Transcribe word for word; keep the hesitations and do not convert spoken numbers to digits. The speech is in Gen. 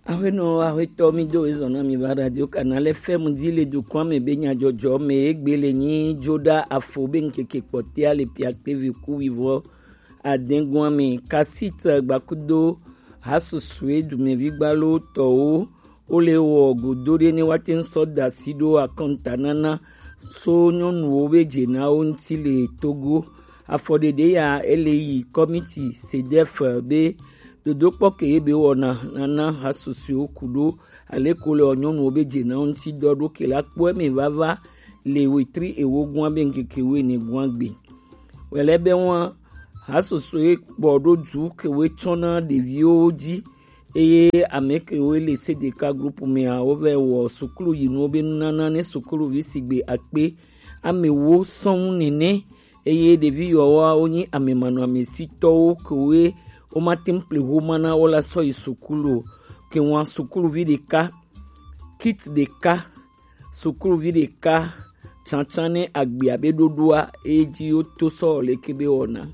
Aƒenɔ, aƒetɔ, mi do ezɔ na mi va Radio Canal F M dzi le dukɔa me be nyadzɔdzɔ me egbe le nyi dzo ɖa afo be ŋkeke kpɔtea le piakpe vi ku wivɔ adɛgɔa me. Kasit gbakudo hasusue dumevi gbalo tɔwo wole wɔ godo ɖe ne woate ŋu sɔ da asi ɖo akɔntanana so nyɔnuwo be dzenawo ŋuti le Togo. Afɔɖeɖe ya ele yi kɔmiti sedef be dodokpɔ ke ye be wɔna nana hasusuewo ku ɖo aleko le nyɔnuwo be dzenawo ŋuti dɔ ɖo ke la kpɔ eme vava le wetri ewo gua be ŋkeke wo ene gua gbe. Wɛlɛ be wa hasusue kpɔ ɖo du ke wo tsɔ na ɖeviwo dzi eye ame ke wo le C D K group mea wo vɛ wɔ sukulu yinuwo be nunana ne sukuluvi sigbe akpe ame wo sɔŋ nene eye ɖevi yawoa wonye ame manɔamesitɔwo kewoe womate ŋu ƒle homa na wo la sɔ yi sukulu o. Ke ŋua sukuluvi ɖeka, kit ɖeka, sukuluvi ɖeka tsantsan ne agbea be ɖoɖoa eye dzi woto sɔ leke be wɔna.